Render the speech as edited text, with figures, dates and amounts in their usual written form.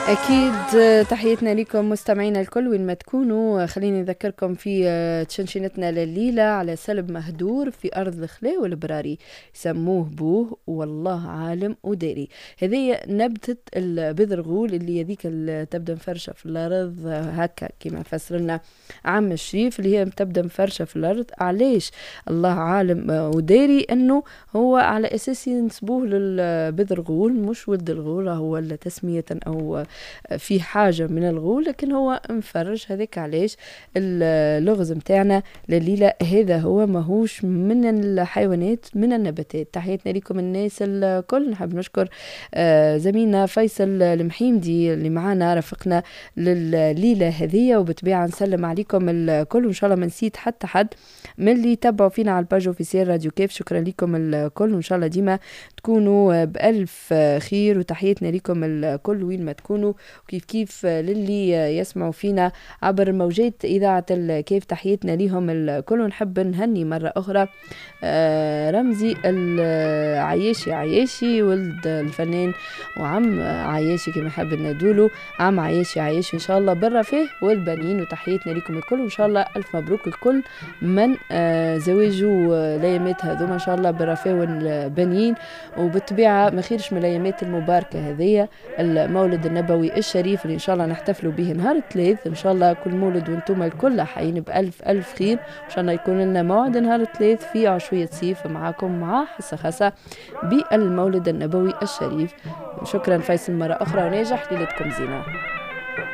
أكيد تحياتنا لكم مستمعينا الكل وين ما تكونوا. خليني نذكركم في تشنشنتنا لليلة على سلب مهدور في أرض الخلاء والبراري، سموه بوه والله عالم وداري. هذه نبتة البذرغول اللي هذيك تبدأ مفرشة في الأرض هكا كما فسر لنا عم الشريف، اللي هي تبدأ مفرشة في الأرض. علاش الله عالم وداري؟ أنه هو على أساس ينسبوه للبذرغول، مش ولد الغول هو تسمية أو في حاجة من الغول، لكن هو مفرش. هذاك علاش اللغز متاعنا لليلة هذا هو، ماهوش من الحيوانات من النباتات. تحياتنا لكم الناس الكل. نحب نشكر زميلنا فيصل المحيمدي اللي معنا رافقنا لليلة هذه، وبطبيعة نسلم عليكم الكل، وإن شاء الله ما نسيت حتى حد من اللي تبعوا فينا على ال page officielle راديو كيف. شكرا لكم الكل، وإن شاء الله ديما تكونوا بألف خير، وتحياتنا لكم الكل وين ما تكونوا، وكيف كيف للي يسمعوا فينا عبر موجات إذاعة الكيف، تحياتنا لهم الكل. ونحب نهني مرة أخرى رمزي العياشي، عياشي ولد الفنان وعم عياشي كما حب ندولو، عم عياشي عياشي إن شاء الله بالرفاه والبنين. وتحياتنا لكم الكل، وإن شاء الله ألف مبروك لكل من زواجه الأيامات هذوما إن شاء الله بالرفاه والبنين. وبالطبيعة ما خيرش من الأيامات المباركة هذية، المولد النبوي الشريف اللي إن شاء الله نحتفلوا به نهار الثلاث. إن شاء الله كل مولد وانتم الكل حيين بألف ألف خير. إن شاء الله يكون لنا موعد نهار الثلاث في عشوية صيف معاكم مع حصة خاصة بالمولد النبوي الشريف. شكرا فيصل مرة أخرى، وناجح ليلتكم زينة.